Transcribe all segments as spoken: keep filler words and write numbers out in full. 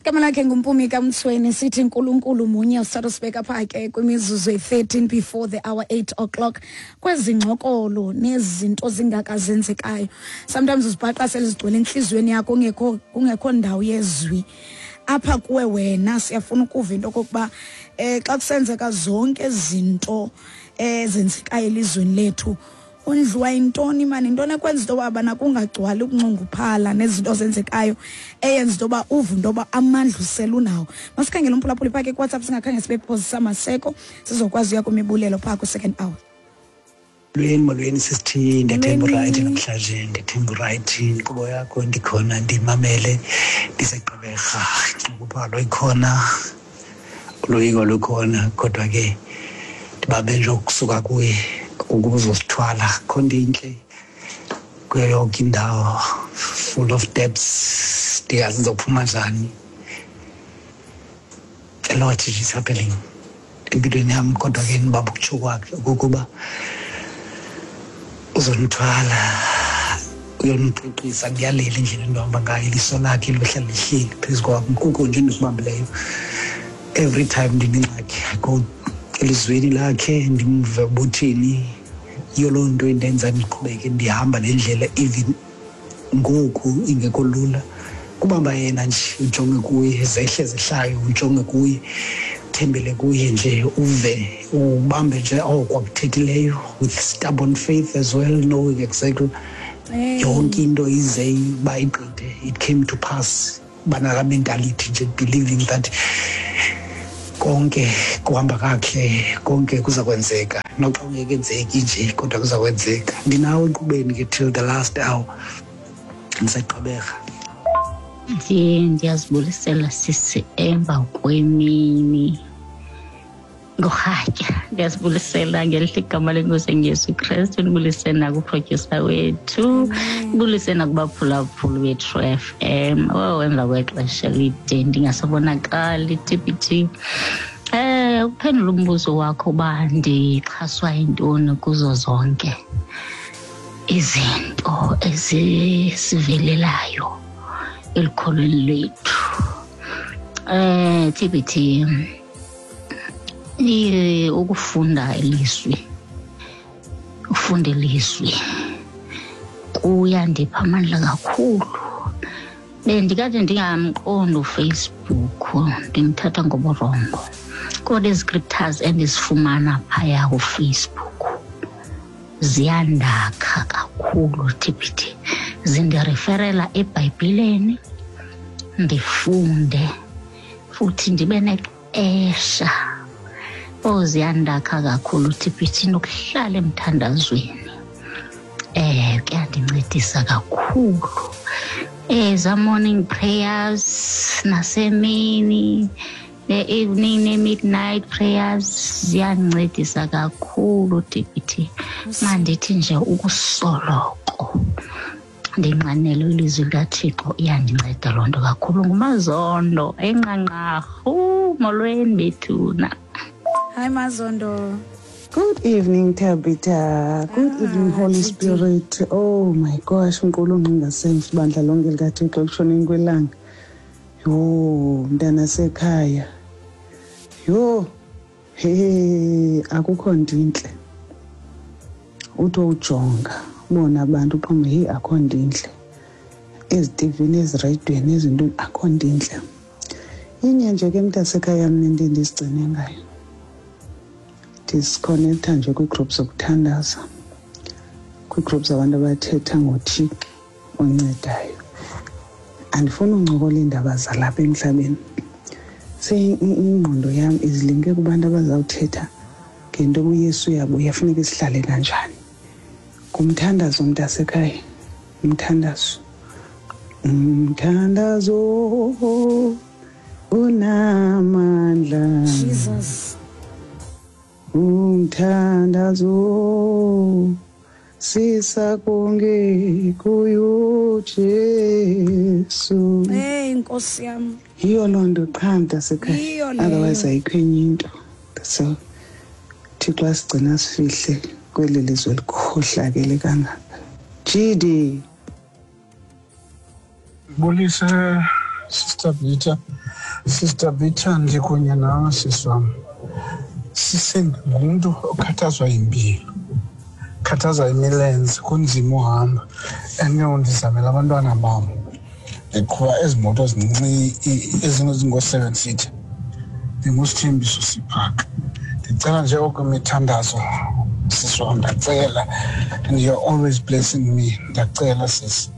Igama lakhe nguMpumi kaMtsweni. Sithi Nkulunkulu munye. Usithatha pha ke kwimizuzu eyi-thirteen before the hour eight o'clock. Kwezi ngxokolo nezinto zingaka zenzekayo, sometimes uzibhaqa sele zigcwele entliziyweni yakho, kungekho kungekho ndawo yezwi apha kuwe wena. Siyafuna ukuva into okokuba eh xa kusenzeka zonke izinto ezenzekayo elizweni lethu, undliwa yintoni mani? Intoni ekwenza into yoba bana kungagcwali ukunxunguphala nezinto zenzekayo, eyenza into yoba uve into yoba amandla usele unawo? Masikhangele umphulaphuli phaa ke kuWhatsApp, singakhange sibe phozisa maseko, sizokwazi uya kwimibulelo phaa kwi-second hour. Molweni, molweni sisithi. Ndiyathemba Molweni. Urayithi namhlanje, ndiyathemba urayithi. Inkqubo yakho ndikhona, ndimamele ndiseGqeberha. Inxunguphalo ikhona, uloyiko lukhona, kodwa ke ndibambe nje ukusuka kuye ukuzosithwala. Kho nto intle kuyo yonke indawo, full of debts, ndingazi ndizophuma njani. A lot is happening empilweni yam, kodwa ke ndibamba ukutsho kwakhe okokuba uzondithwala, uyondiqiqisa, ndiyalela indlela endihamba ngayo. Iliso lakhe lihlala lihleli phezu kwam. Kuko nje endikubambileyo. Every time ndinengxaki, I go elizweni lakhe, ndimve ubuthini. Yiyo loo nto indenza ndiqhubeke ndihamba le ndlela, even ngoku ingekho lula. Kubamba yena nje, ujonge kuye, zehle zehlayo, ujonge kuye, uthembele kuye nje, uve, ubambe nje oko akuthethileyo with stubborn faith as well, knowing exactly yonke into ize uba igqithe. It came to pass. Banalaa mentality nje, believing that konke kuhamba kakuhle, konke kuza kwenzeka, noxa kungekenzeki nje, kodwa kuza kwenzeka. Ndinawe enkqubeni ke till the last hour. NdiseGqeberha. Ndiye ndiyazibulisela sisi emva kwemini ngorhatya. Ndiyazibulisela ngelihle igama leNkosi enguYesu Kristu. Ndibulise nakuprodyusa wethu, ndibulise nakubaphulaphuli beTru F M. Oh, emva kwexesha elide ndingasabonakali, T B T. Eh ukuphendula umbuzo wakho uba ndixhaswa yintoni kuzo zonke izinto ezisivelelayo elukholweni lwethu. Eh T B T, eh ukufunda ilizwi, ufunda ilizwi kuyandipha amandla kakhulu. Bendikade ndingamqondi uFacebook, ndimthatha ngoburongo, kodwa izi-scriptures endizifumana phaya kuFacebook ziyandakha kakhulu, T B T. Zindireferela eBhayibhileni, ndifunde futhi ndibe nexesha. Oh, ziyandakha kakhulu, T B T. Nokuhlala emthandazweni eh kuyandincedisa kakhulu. Eza morning prayers nasemini, ne-evening, ne-midnight prayers ziyandincedisa kakhulu, T B T. Mandithi nje ukusoloko ndinxanele ilizwi likaThixo, iyandinceda loo nto kakhulu. NguMazondo eNqanqarhu. Molweni bethuna. Hi Mazondo. Good evening, Tabitha. Good Ah, evening, Holy Titi. Spirit. Oh my gosh, unkulu ngasemva ibandla lonke likaThixo ekushoneni kwelanga. Yho, mntana sekhaya. Yho, he, akukho nto intle. Uthi ujonga, ubona abantu uqonde, hey, akho nto intle. Ezitivini, ezireyidweni, ezintweni, akho nto intle. Inye nje ke mntasekhaya mna into endizigcine ngayo. Ndizikhonektha nje kwii-group zokuthandaza, kwii-group zabantu abathetha ngoThixo oncedayo. Andifuni uncokola iindaba zalapha emhlabeni. Ingqondo yam izilinke kubantu abazawuthetha ngento yoba uYesu uyabuya, funeke sihlale kanjani. Ngumthandazo mntasekhaya, umthandazo, umthandazo unamandla. Jesus. Umthandazo sisa konke kuyo Jesu. Hey Nkosi yam. Yiyo loo nto qha mntasekhaya. Yiyo leyo. Otherwise ayikho enye into. So Thixo asigcina sifihle kweli lizwe likhohlakele kangaka. G D. Bulise Sister Bita, Sister Bita, ndikunye nawe sisi wam. Sisengumntu okhathazwa yimpilo, khathazwa imilenze, kunzima uhamba. And ke ndizamela abantwana bam. Ndiqhuba ezi moto zincinci ezingo-seven seater. Ndingusithembiso Siphaka. Ndicela nje okwemithandazo sisi wam, ndiyacela. And you're always blessing me. Ndiyacela sisi.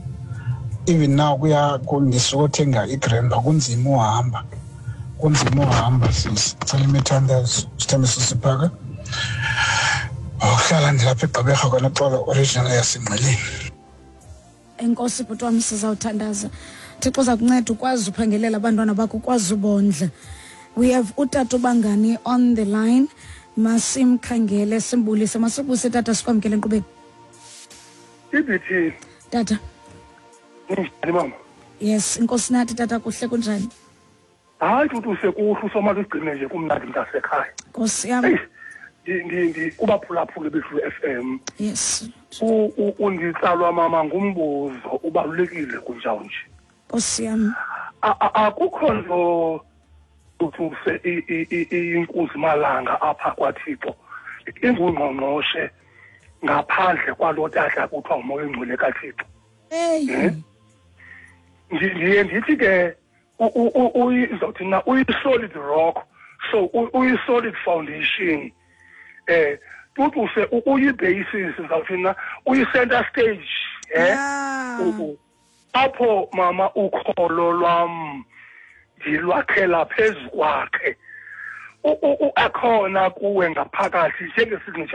Even now kuya ndisukothenga igrandpa, kunzima uhamba. Kunzima uhamba sisi. Ndicela imithandazo. Sithembiso Siphaka. Uhlala ndilapha eGqeberha kwanoxolo original yaseNgqeleni. Enkosi bhuti wam, sizawuthandaza. Thixo uza kunceda ukwazi uphangelela abantwana bakho, ukwazi ubondla. We have utata Bangani on the line. Masimkhangele simbulise. Masibuse tata, sikwamkele enkqubeni. Ibithi Tata. Ninjani mama? Yes, inkosi nathi tata, kuhle, kunjani? Hayi tutu, sekuhle, usomali ugcine nje kumnandi mntasekhaya. Nkosi yam. Eyi, ndi ndi ndi kubaphulaphuli bethu F M. Yes. Unditsalwa mama ngumbuzo ubalulekile kunjalo nje. Nkosi yam. Akukho nto uthuse inkunzi malanga apha kwaThixo ingungqongqoshe ngaphandle kwalo tata kuthiwa umoya ongcwele kaThixo. Hey. Ndiye ndithi ke uzothi na uyi-solid rock, so uyi-solid foundation. Eh tutuse uyi-basis, ngizawuthi na uyi-center stage, eh apho mama ukholo lwam ndilwakhela phezu kwakhe. Akhona kuwe ngaphakathi njengesignature.